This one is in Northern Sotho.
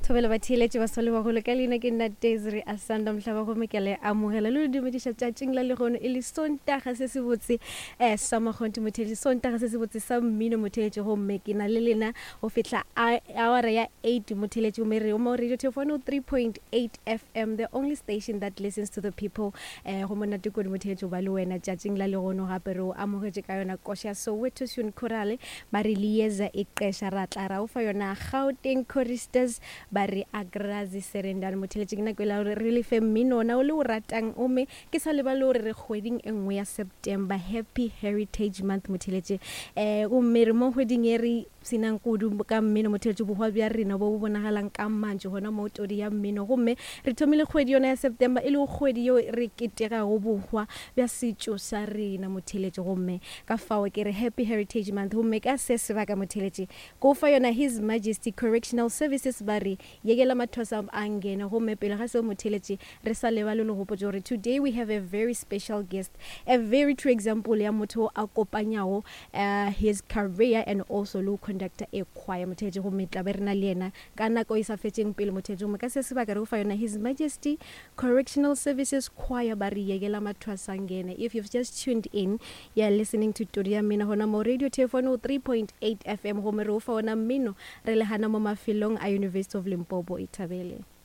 Thobela batheeletši ba sole bagolo ka leina ke nna Desiree Asanda Mohlaba gomme ke le amogela le le dumediša tšatšing la lehono e le Sontaga se se botse eh, sa makgonthe motheeletši Sontaga se se botse sa mmino motheeletši gomme ke na le lena go fihla awara ya 8 motheeletši gomme re mo radio Thefo 3.8 FM the only station that listens to the people eh, go monate kudu motheeletši go ba le wena tšatšing la lehono gape re o amogetše ka yona koša Soweto Sun Chorale Ba re Lieza e qeša ra tla ra o fa yona Gauteng Choristers ba re Agrazi Serendane Motheletše ke nako ela gore re le fe mmino ona o le o ratang ome ke sa lebale gore re kgweding e nngwe ya September Happy Heritage Month Motheletše eh gomme re mo kgweding e re senang kudu ka mmino Motheletše bohwa bja rena bo bo bonagalang ka mantšu gona mo todi ya mmino gomme re thomile kgwedi yona ya September e lego kgwedi yeo re ketegago bohwa bja setšo sa rena Motheletše gomme Ka fao ke re Happy Heritage Month gomme ka se sebaka motheletše ko fa yona His Majesty Correctional Services ba re yekela mathosa a ngene gomme pele ga seo motheletše re sa lebale le gopotše gore today we have a very special guest a very true example ya motho a kopanyago uh, his career and also le go conductor a choir motheletše gomme tla be re na le yena ka nako e sa fetšeng pele motheletše gomme ka se sebaka re go fa yona His Majesty Correctional Services Choir ba re yekela mathwasa ngene. If you've just tuned in, you're listening to Todi ya Mmino gona mo Radio Thefo 3.8 FM gomme re o fa ona mmino re le gana mo mafelong a University of Limpopo. Ithabele.